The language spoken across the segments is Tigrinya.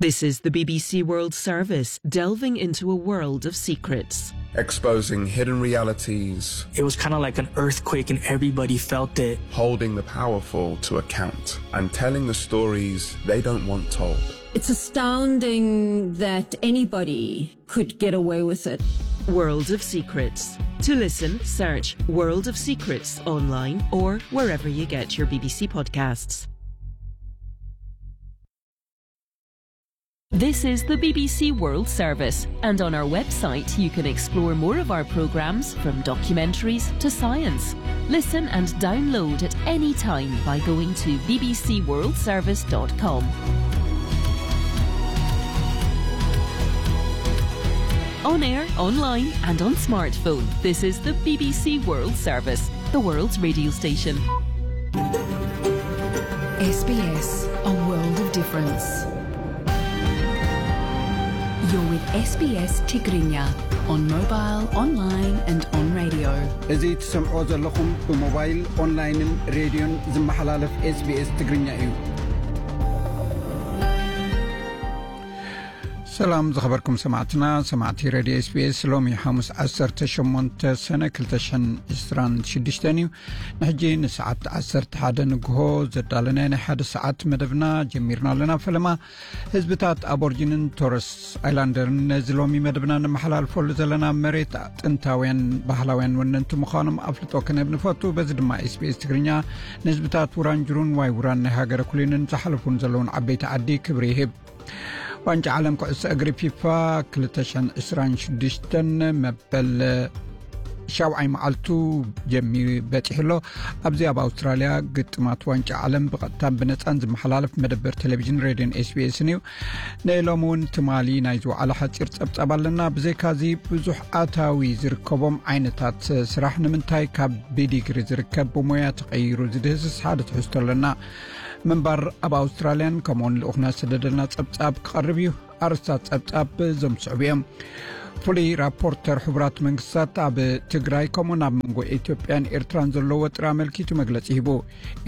This is the B B C World Service, delving into a world of secrets. Exposing hidden realities. It was kind of like an earthquake, and everybody felt it. Holding the powerful to account and telling the stories they don't want told. It's astounding that anybody could get away with it. World of Secrets. To listen, search World of Secrets online or wherever you get your B B C podcasts. This is the B B C World Service, and on our website you can explore more of our programmes, from documentaries to science. Listen and download at any time by going to B B C world service dot com. On air, online, and on smartphone, this is the B B C World Service, the world's radio station. S B S, a world of difference. You're with S B S Tigrinya on mobile, online and on radio. እዚ ትሰምዖ ዘለኹም ብሞባይል፣ ኦንላይንን ሬድዮን ዝመሓላለፍ SBS ትግርኛ እዩ። ሰላም ዝኸበርኩም ሰማዕትና፣ ሰማዕቲ ሬድዮ SBS። ሎሚ ሓሙስ ዓሰርተ ሸሞንተ ሰነ ክልተ ሽሕን ዕስራን ሽዱሽተን እዩ። ንሕጂ ንሰዓት ዓሰርተ ሓደ ንግሆ ዘዳለናዮ ናይ ሓደ ሰዓት መደብና ጀሚርና ኣለና። ፈለማ ህዝብታት ኣቦርጂንን ቶረስ ኣይላንደርን ነዚ ሎሚ መደብና ነመሓላልፈሉ ዘለና መሬት ጥንታውያን ባህላውያን ወነንቲ ምዃኖም ኣፍልጦ ክንህብ ንፈቱ። በዚ ድማ SBS ትግርኛ ንህዝብታት ውራንጅሩን ዋይ ውራን ናይ ሃገረ ኩሊንን ዝሓለፉን ዘለውን ዓበይቲ ዓዲ ክብሪ ይህብ። ዋንጫ ዓለም ኩዕሶ እግሪ ፊፋ ክልተ ሽሕን ዕስራን ሽዱሽተን መበል ሻውዓይ መዓልቱ ጀሚሩ በፂሑ ኣሎ። ኣብዚ ኣብ ኣውስትራልያ ግጥማት ዋንጫ ዓለም ብቐጥታን ብነፃን ዝመሓላለፍ መደበር ቴሌቪዥን ሬድዮን SBS ን እዩ። ንሎሚ እውን ትማሊ ናይ ዝወዓለ ሓፂር ፀብፃብ ኣለና። ብዘይካዚ ብዙሕ ኣታዊ ዝርከቦም ዓይነታት ስራሕ፣ ንምንታይ ካብ ብዲግሪ ዝርከብ ብሞያ ተቐይሩ ዝድህስስ ሓደ ትሕዝቶ ኣለና። ምንባር ኣብ ኣውስትራልያን ከምኡውን ልኡኽና ዝሰደደልና ጸብጻብ ክቐርብ እዩ። ኣርእስታት ጸብጻብ እዞም ዝስዕቡ እዮም። ፍሉይ ራፖርተር ሕቡራት መንግስታት ኣብ ትግራይ ከምኡውን ኣብ መንጎ ኢትዮጵያን ኤርትራን ዘሎ ወጥሪ ኣመልኪቱ መግለጺ ሂቡ።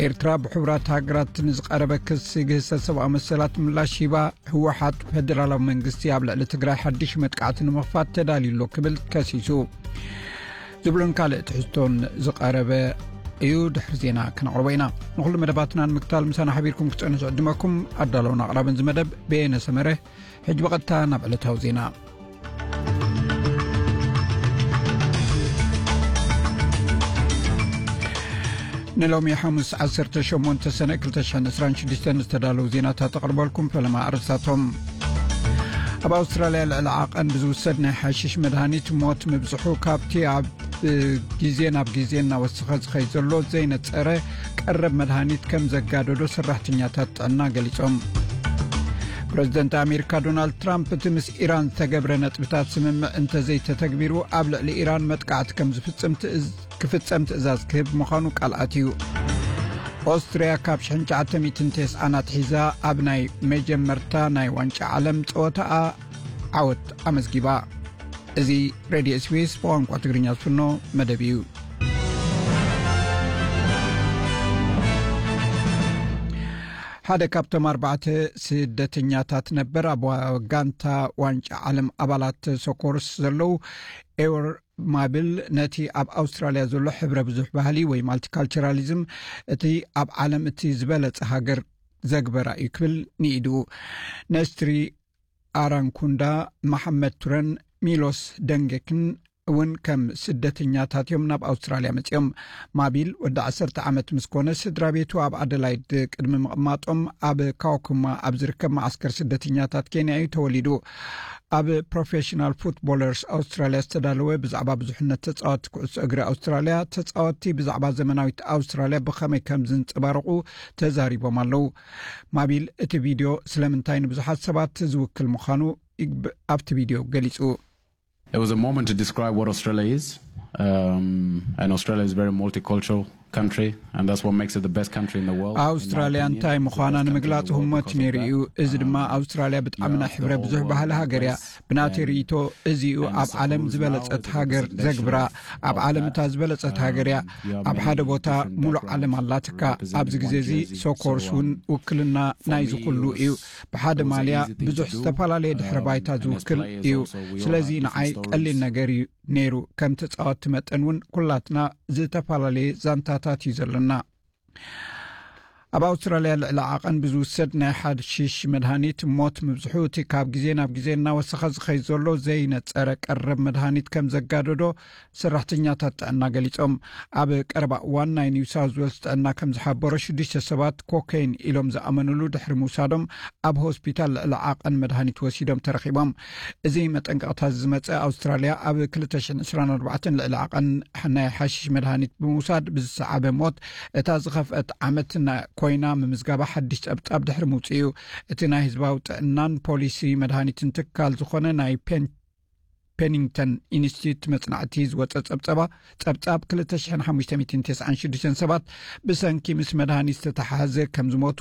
ኤርትራ ብሕቡራት ሃገራት ንዝቐረበ ክሲ ግህሰት ሰብኣዊ መሰላት ምላሽ ሂባ። ህወሓት ፈደራላዊ መንግስቲ ኣብ ልዕሊ ትግራይ ሓድሽ መጥቃዕቲ ንምኽፋት ተዳልዩ ኣሎ ክብል ከሲሱ። ዝብሉን ካልእ ትሕዝቶን ዝቐረበ እዩ። ድሕሪ ዜና ክነቕርቦ ኢና። ንኹሉ መደባትና ንምክታል ምሳና ሓቢርኩም ክትጸንሑ ዝዕድመኩም ኣዳለውን ኣቕራብን እዚ መደብ በየነ ሰመረ። ሕጂ ብቐጥታ ናብ ዕለታዊ ዜና። ንሎሚ ሓሙስ ዓሰርተ ሸሞንተ ሰነ ክልተ ሽሕን ዕስራን ሽዱሽተን ዝተዳለዉ ዜናታት ኣቕርበልኩም። ፈለማ ኣርእስታቶም። ኣብ ኣውስትራልያ ልዕሊ ዓቐን ብዝውሰድ ናይ ሓሽሽ መድሃኒት ሞት ምብዝሑ ካብቲ ኣብ ግዜ ናብ ግዜ እናወሰኸ ዝኸይድ ዘሎ ዘይነጸረ ቀረብ መድሃኒት ከም ዘጋደዶ ሰራሕተኛታት ጥዕና ገሊጾም። ፕረዚደንት ኣሜሪካ ዶናልድ ትራምፕ እቲ ምስ ኢራን ዝተገብረ ነጥብታት ስምምዕ እንተዘይተተግቢሩ ኣብ ልዕሊ ኢራን መጥቃዕቲ ከም ዝፍጽም ትእዝ-፣ ክፍጸም ትእዛዝ ክህብ ምዃኑ ቃል ኣትዩ። ኦስትርያ ካብ ሽሕን ትሽዓተ ሚእትን ተስዓን ኣትሒዛ ኣብ ናይ መጀመርታ ናይ ዋንጫ ዓለም ጸወታኣ ዓወት ኣመዝጊባ። እዚ ሬድዮ SBS ብቋንቋ ትግርኛ ዝፍኖ መደብ እዩ። ሓደ ካብቶም ኣርባዕተ ስደተኛታት ነበር ኣብ ዋ-፣ ጋንታ ዋንጫ ዓለም ኣባላት ሰኮርስ ዘለዉ ኤወር ማብል ነቲ ኣብ ኣውስትራልያ ዘሎ ሕብረ ብዙሕ ባህሊ ወይ ማልቲካልቸራሊዝም እቲ ኣብ ዓለም እቲ ዝበለጸ ሃገር ዘግበራ እዩ ክብል ንኢዱ። ነስትሪ ኣራንኩንዳ፣ መሓመድ ቱረን ሚሎስ ደንጌክን እውን ከም ስደተኛታት እዮም ናብ ኣውስትራልያ መጺኦም። ማቢል ወዲ ዓሰርተ ዓመት ምስ ኮነ ስድራ ቤቱ ኣብ ኣደላይድ ቅድሚ ምቕማጦም ኣብ ካውኩማ ኣብ ዝርከብ መዓስከር ስደተኛታት ኬንያ እዩ ተወሊዱ። ኣብ ፕሮፌሽናል ፉትቦለርስ ኣውስትራልያ ዝተዳለወ ብዛዕባ ብዙሕነት ተጻወትቲ ኩዕሶ እግሪ ኣውስትራልያ፣ ተጻወትቲ ብዛዕባ ዘመናዊት ኣውስትራልያ ብኸመይ ከም ዝንጸባረቑ ተዛሪቦም ኣለዉ። ማቢል እቲ ቪድዮ ስለምንታይ ንብዙሓት ሰባት ዝውክል ምዃኑ ይግብ-፣ ኣብቲ ቪድዮ ገሊጹ። It was a moment to describe what Australia is. Um, and Australia is a very multicultural country, and that's what makes it the best country in the world. ኣውስትራልያ እንታይ ምዃና ንምግላጽ ህሞት ነይሩ እዩ። እዚ ድማ ኣውስትራልያ ብጣዕሚ ናይ ሕብረ ብዙሕ ባህሊ ሃገር እያ። ብናተይ ርእይቶ፣ እዚ እዩ ኣብ ዓለም ዝበለጸት ሃገር ዘግብራ። ኣብ ዓለም እታ ዝበለጸት ሃገር እያ። ኣብ ሓደ ቦታ ሙሉእ ዓለም ኣላትካ። ኣብዚ ግዜ እዚ ሶኮርስ እውን ውክልና ናይዚ ኩሉ እዩ። ብሓደ ማልያ ብዙሕ ዝተፈላለየ ድሕረ ባይታ ዝውክል እዩ። ስለዚ ንዓይ ቀሊል ነገር እዩ ነይሩ። ከም ተጻወትቲ መጠን እውን ኩላትና ዝተፈላለየ ዛንታታት እዩ ዘለና። ኣብ ኣውስትራልያ ልዕሊ ዓቐን ብዝውሰድ ናይ ሓሽሽ መድሃኒት ሞት ምብዝሑ፣ እቲ ካብ ግዜ ናብ ግዜ እናወሰኸ ዝኸይድ ዘሎ ዘይነጸረ ቀረብ መድሃኒት ከም ዘጋደዶ ሰራሕተኛታት ጥዕና ገሊጾም። ኣብ ቀረባ እዋን ናይ ኒው ሳውዝ ዌልስ ጥዕና ከም ዝሓበሮ፣ ሽዱሽተ ሰባት ኮኬይን ኢሎም ዝኣመኑሉ ድሕሪ ምውሳዶም ኣብ ሆስፒታል ልዕሊ ዓቐን መድሃኒት ወሲዶም ተረኺቦም። እዚ መጠንቀቕታ ዝመጸ ኣውስትራልያ ኣብ ክልተ ሽሕን ዕስራን ኣርባዕተን ልዕሊ ዓቐን ናይ ሓሽሽ መድሃኒት ብምውሳድ ብዝሰዓበ ሞት እታ ዝኸፍአት ዓመት ኮይና ምምዝጋባ ሓድሽ ጸብጻብ ድሕሪ ምውጽእ እዩ። እቲ ናይ ህዝባዊ ጥዕናን ፖሊሲ መድሃኒትን ትካል ዝኾነ ናይ ፔኒንግተን ኢንስቲትዩት መጽናዕቲ ዝወጸ ጸብጸባ ጸብጻብ ክልተ ሽሕን ሓሙሽተ ሚእትን ተስዓን ሽዱሽተን ሰባት ብሰንኪ ምስ መድሃኒት ዝተተሓሓዘ ከም ዝሞቱ፣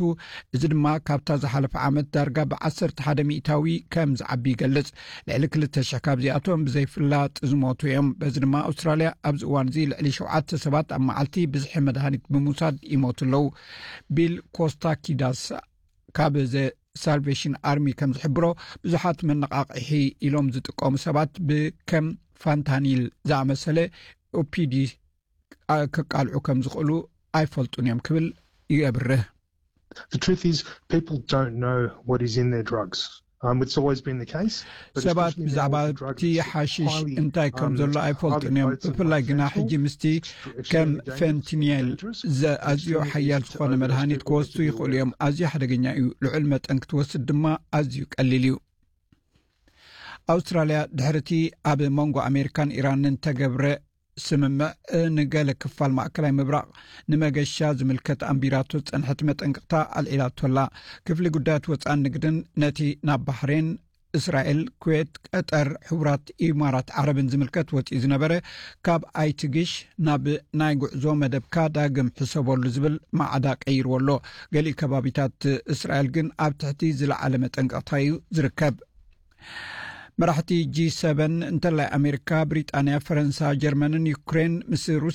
እዚ ድማ ካብታ ዝሓለፈ ዓመት ዳርጋ ብ ዓሰርተ ሓደ ሚእታዊ ከም ዝዓቢ ይገልጽ። ልዕሊ ክልተ ሽሕ ካብዚኣቶም ብዘይፍላጥ ዝሞቱ እዮም። በዚ ድማ ኣውስትራልያ ኣብዚ እዋን እዚ ልዕሊ ሸውዓተ ሰባት ኣብ መዓልቲ ብዝሒ መድሃኒት ብምውሳድ ይሞቱ ኣለዉ። ቢል ኮስታኪዳስ ካብ ዘ ሳልቬሽን ኣርሚ ከም ዝሕብሮ፣ ብዙሓት መነቓቕሒ ኢሎም ዝጥቀሙ ሰባት ብከም ፋንታኒል ዝኣመሰለ ኦፒዲ ከቃልዑ ከም ዝኽእሉ ኣይፈልጡን እዮም ክብል ይብርህ። The truth is, people don't know what is in their drugs. Um, it's always been the case. ሰባት ብዛዕባ እቲ ሓሽሽ እንታይ ከም ዘሎ ኣይፈልጡን እዮም። ብፍላይ ግና ሕጂ ምስቲ ከም ፌንቲኒል ኣዝዮ ሓያል ዝኾነ መድሃኒት ክወስዱ ይኽእሉ እዮም። ኣዝዩ ሓደገኛ እዩ። ልዑል መጠን ክትወስድ ድማ ኣዝዩ ቀሊል እዩ። ኣውስትራልያ ድሕርቲ ኣብ መንጎ ኣሜሪካን ኢራንን ተገብረ ስምምዕ ንገለ ክፋል ማእከላይ ምብራቕ ንመገሻ ዝምልከት ኣንቢራቶ ዝጸንሐት መጠንቀቕታ ኣልዒላቶ ኣላ። ክፍሊ ጉዳያት ወጻን ንግድን ነቲ ናብ ባህሬን፣ እስራኤል፣ ኩዌት፣ ቀጠር፣ ሕቡራት ኢማራት ዓረብን ዝምልከት ወጺኡ ዝነበረ ካብ ኣይትግሽ ናብ ናይ ጉዕዞ መደብካ ዳግም ሕሰበሉ ዝብል ማዕዳ ቀይርዎ ኣሎ። ገሊኡ ከባቢታት እስራኤል ግን ኣብ ትሕቲ ዝለዓለ መጠንቀቕታ እዩ ዝርከብ። መራሕቲ ጂ ሰቨን እንተላይ ኣሜሪካ፣ ብሪጣንያ፣ ፈረንሳ፣ ጀርመንን ዩክሬን ምስ